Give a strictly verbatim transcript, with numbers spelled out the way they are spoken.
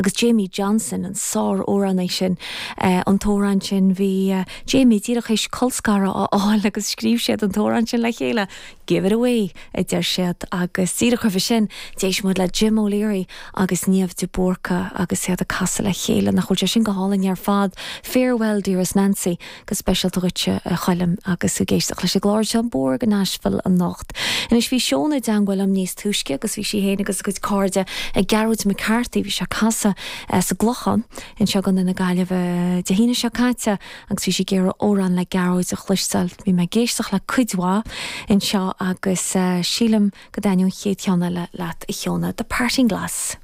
agus Jamie Johnson an sár-amhránaí sin uh, an t-amhrán sin bhí uh, Jamie díreach théis colscaradh a fháil agus scríobh siad an t-amhrán sin le chéile. Give it away a deir siad agus díreach roimhe sin d'éist muid le Jim O'Leary agus Niamh de Búrca agus iad ag casadh le chéile nach bhfuil sé sin go hálainn ar fad Farewell Dearest Nancy go speisialta duitse a Choilm agus ag éisteacht leis an gclár seo Bór go Nashville anocht. Anois bhí Seona i dteagmháil liom níos túisce agus bhí sí féin agus a cuid cairde ag Gearóid McCarthy bhí sé ag casadh eh, sa gClochán anseo i gContae na Gaillimhe Dé hAoine seo caite agus bhí sí ag iarraidh amhrán le Gearóid a chloisteáil bhí mé ag éisteacht le cuid mhaith anseo agus uh, sílim go dtaitneoidh an chéad cheann eile leat a Sheona The Parting Glass.